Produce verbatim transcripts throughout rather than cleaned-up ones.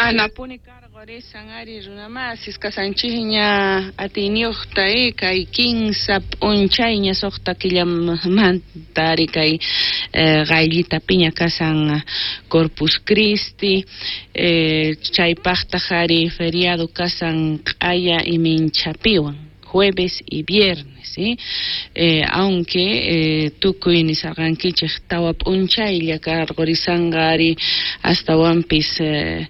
Anapuni karqurisan ari runamasis kasanchikña atiyniyuqta eh, kay kinsa p'unchayña suqta killamanta ari kay eh, qayllitapiña kasan Corpus Christi eh, chaypaqtaq ari feriado kasan q'aya iminchapiwan jueves y viernes, ¿sí? Eh, aunque eh, tukuy nisarqankichik tawa p'unchaylla karqurisanqa ari astawanpis eh,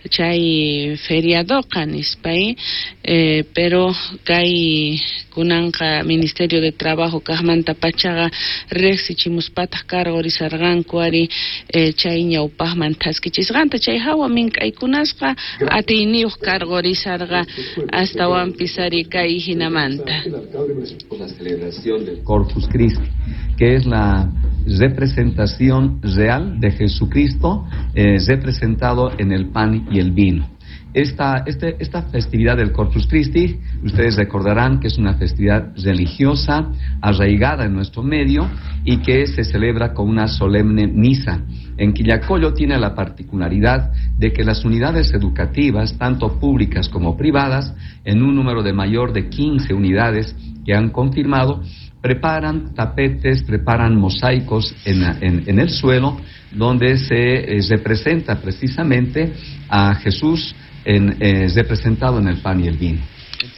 chay feriadoqa nispay eh, pero kay kunanqa Ministerio de Trabajo kaqmanta pachaqa riqsichimuspataq karqurisarqanku ari eh, chay ñawpaqman thaskichisqanta chay hawa mink'aykunasqa atiyniyuq karqurisarqa astawanpis ari kay hinamanta. La celebración del Corpus Christi, que es la representación real de Jesucristo eh, representado en el pan y el vino. Esta, este, esta festividad del Corpus Christi, ustedes recordarán que es una festividad religiosa arraigada en nuestro medio y que se celebra con una solemne misa. En Quillacollo tiene la particularidad de que las unidades educativas, tanto públicas como privadas, en un número de mayor de quince unidades que han confirmado, preparan tapetes, preparan mosaicos en, en, en el suelo, donde se eh, representa precisamente a Jesús en, eh, representado en el pan y el vino.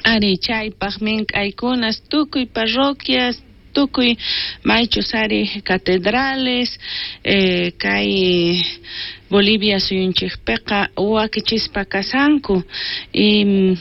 Ari chaypaq mink'aykunas tukuy parroquias, tukuy maychus ari catedrales, eh, kay Bolivia suyunchikpiqa wakichispa kasanku y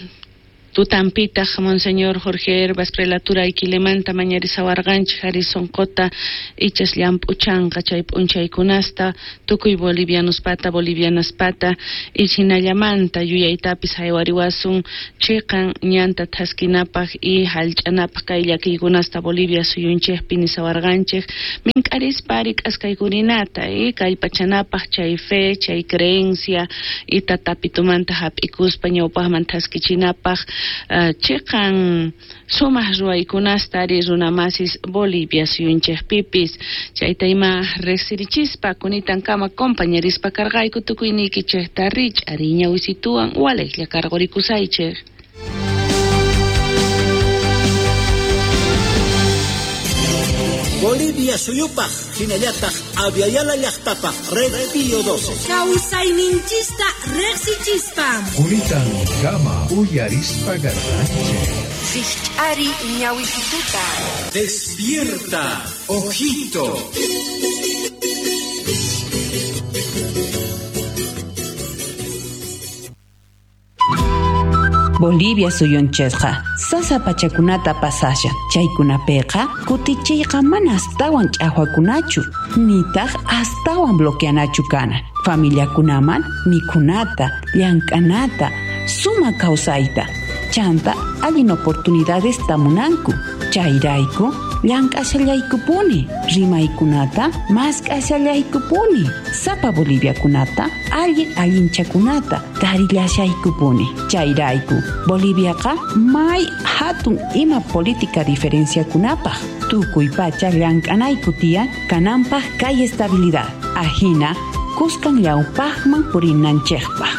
tutampitaq Monseñor Jorge Herbas prelatura Iquilemanta mañarisawarqanchik ari sunquta ichas llamp'uchanqa chay p'unchaykunasta tukuy bolivianospata bolivianaspata y hinallamanta yuyaytapis haywariwasun chiqan ñanta thaskinapaq y hallch'anapaq kay llakiykunasta Bolivia suyunchikpi nisawarqanchik mink'arispa ari k'askaykurinata y kallpachanapaq chay fe chay creencia y tatapitumanta hap'ikuspa ñawpaqman thaskichinapaq Uh, chiqan sumaq ruwaykunasta ari runamasis Bolivia suyunchikpipis chayta ima riqsirichispa kunitankama compañerispa karqayku tukuyniykichikta rich'ari ñawisituwan walejlla karqurikusaychik. Bolivia suyupaq hinallataq Aviala llaqtapaq Red Pío doce. Kawsayninchista riqsichispa. Kunitan kama uyarispa garranchik. Rich'ari ñawisituta. Despierta, ojito. Bolivia suyunchikqa sasa pachakunata pasashan chaykunapiqa kutichiyqa mana astawan ch'aqwakunachu nitaq astawan bloqueanachu kana familiakunaman mikhunata llank'anata suma kawsayta chanta allin oportunidades tamunanku chayrayku llank'ashallaykupuni rimaykunata mask'ashallaykupuni sapa boliviakunata allin allinchakunata tarillashaykupuni chayrayku Boliviaqa may hatun ima política diferenciakunapaq tukuy pacha llank'anayku tiyan kananpaq kay estabilidad ajina kuskan llawpaqman purinanchikpaq.